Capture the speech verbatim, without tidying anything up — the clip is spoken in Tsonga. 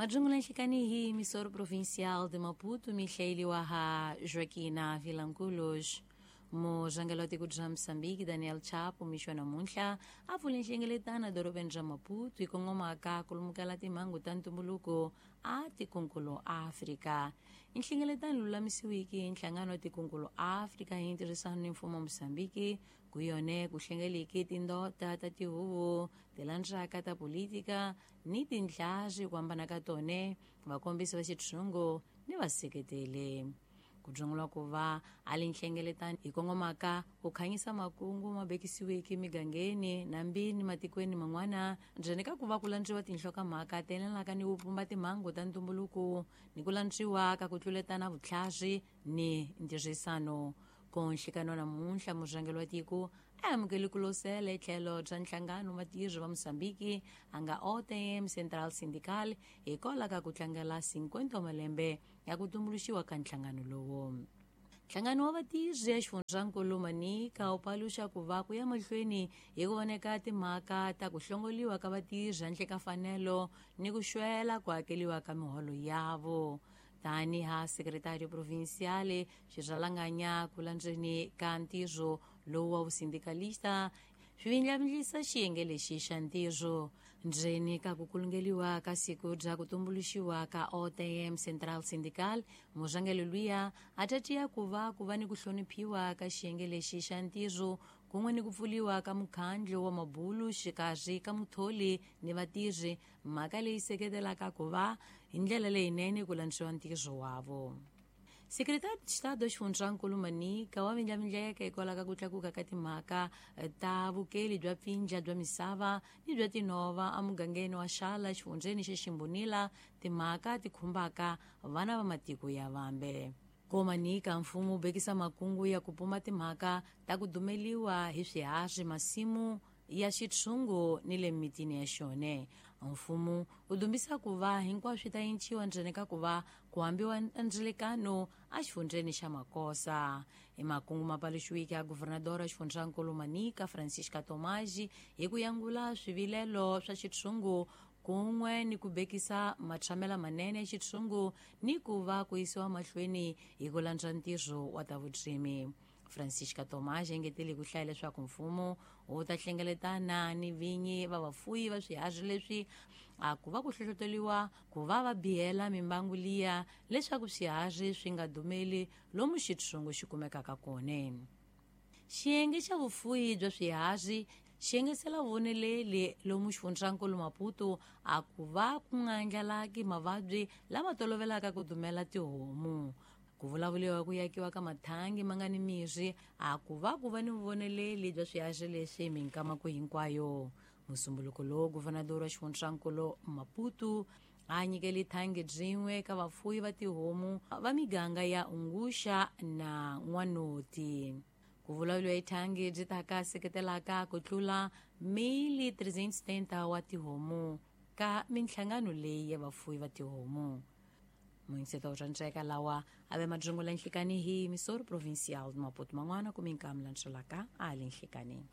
Majungula nhlikani hi emissora provincial de Maputo, mihlayeliwa ha Joaquina Vilanculos. Murhangeri wa tiko bya Mozambique Daniel Chapo mixo namuntlha a pfule nhlengeletano edorobeni ra Maputo hi kongomaka ku lumukela timhangu ta ntumbuluko a tikonkulu Afrika. Nhlengeletano lulamisiwiki hi nhlangano wa tikonkulu Afrika hi ntirhisano ni mfumo wa Mozambique ku yone ku hlengeleke tindota ta tihuvo tilandzaka ta politika ni tindlazi ku hambana ka tone, vakombisi va xitshungu ni vaseketeli. Ku byungula ku va a li nhlengeletano hi kongomaka ku khanyisa makungu ma bekisiweke migangeni nambini matikweni man'wana ndzeni ka ku va ku landziwa tinhlokomhaka ti yelanaka ni ku pumba timhangu ta ntumbuluko ni ku landziwa ka ku tluletana vutlhari ni ntirhisano. Ku nhlikano namuntlha murhangeri wa tiko a amukele ku losela etlhelo bya nhlangano vatirhi va Mozambique a nga O T M Central Sindical hikwalaho ka ku tlangela cinquenta wa malembe ya ku tumbuluxiwa ka nhlangano lowu. Nhlangano wa vatirhi ya xifundzankulu Manica wu paluxa ku va ku ya mahlweni hi ku voneka timhaka ta ku hlongoliwa ka vatirhi handle ka fanelo ni ku xwela ku hakeriwa ka miholo yavo. Tani ha secretario provincial xirhalanganya ku landzeni ka ntirho lowu wa vusindicalista swi vindlavindlisa xiyenge lexi xa ntirho. Ndzeni ka ku kulungeliwa ka siku bya ku tumbuluxiwa ka O T M Central Sindical, murhangeri luya a tatiya ku va ku va ni ku hloniphiwa ka xiyenge lexi xa ntirho kun'we ni ku pfuliwa ka mukhandlu wa mabulu xikarhi ka mutholi ni vatirhi, mhaka leyi seketelaka ku va hi ndlela leyinene ku landziwa ntirho wavo. Secretário de Estado xifundzankulu Manica wa vindlavindleka hikwalaho ka ku tlakuka ka timhaka ta vukeli bya pfindla bya misava ni bya tinhova emugangeni wa Xala xifundzeni xa Ximbonila, timhaka ti khumbaka vana va matiko ya vambe. Ko Manica mfumo wu bekisa makungu ya ku puma timhaka ta ku dumeliwa hi swiharhi masimu ya xitshungu ni le mitini ya xone. Mfumo wu dumbisa ku va hinkwaswo swi ta enciwa ndzeni ka ku va ku hambiwa ndzilekano exifundzeni xa Makosa. I makungu ma paluxiweke ya guvernadora xifundzankulu Manica Francisca Tomasi hi ku yangula swivilelo swa xitshungu kun'we ni ku bekisa matshamela manene ya xitshungu ni ku va ku yisiwa mahlweni hi ku landza ntirho wa ta vurimi. Francisca Tomás engetele ku hlaya leswaku mfumo wu ta hlengeletana ni vinyi va vafuyi va swiharhi leswi a ku va ku hlohloteriwa ku va va bihela mimbangu liya leswaku swiharhi swi nga dumeli lomu xitshungu xi kumekaka kona. Xiyenge xa vufuyi bya swiharhi xi engetela voneleli lomu xifundzankulu Maputo a ku va ku nga andlalaki mavabyi lama tolovelaka ku dumela tihomu. Ku vulavuriwa ku yakiwa ka mathangi ma nga ni mirhi a ku va ku va ni vuvoneleli bya swiharhi leswi minkamako hinkwayo. Musumbuluko lowu guvernador wa xifundzankulu Maputo a nyikele thangi byin'we ka vafuyi va tihomu va miganga ya Unguxa na N'wanoti. Ku vulavuriwa hi thangi byi ta ka seketelaka ku tlula mil trezentos e setenta wa tihomu ka minhlangano leyi ya vafuyi va tihomu. Muinseto wa ntseka lawa a ve majungula nhlikani hi emissora provincial de Maputo man'wana ku minkamu landzelaka a le nhlikani.